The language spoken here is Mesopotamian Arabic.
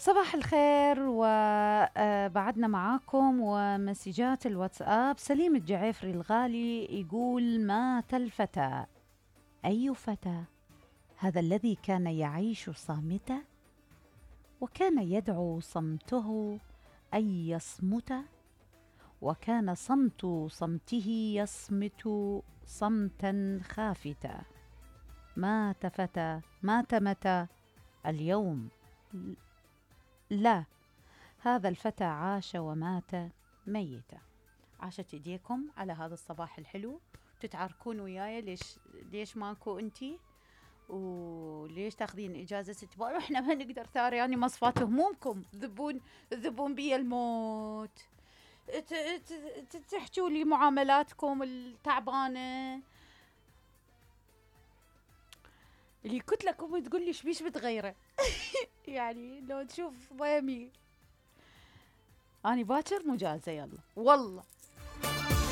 صباح الخير وبعدنا معاكم ومسجات الواتساب. سليم الجعيفري الغالي يقول: مات الفتى. أي فتى؟ هذا الذي كان يعيش صامتا وكان يدعو صمته أن يصمت، وكان صمت صمته يصمت صمتا خافتا. مات فتى، مات متى؟ اليوم لا، هذا الفتى عاش ومات ميتا. عاشت ايديكم على هذا الصباح الحلو. تتعاركون وياي ليش ماكو انتي، وليش تاخذين اجازه اسبوع واحنا ما نقدر ثاري. يعني مصفات همومكم، ذبون بي الموت، تحجوا لي معاملاتكم التعبانه اللي قلت لكم تقول لي ايش بتغيره. يعني لو تشوف ضيمي اني باكر مجازه، يلا والله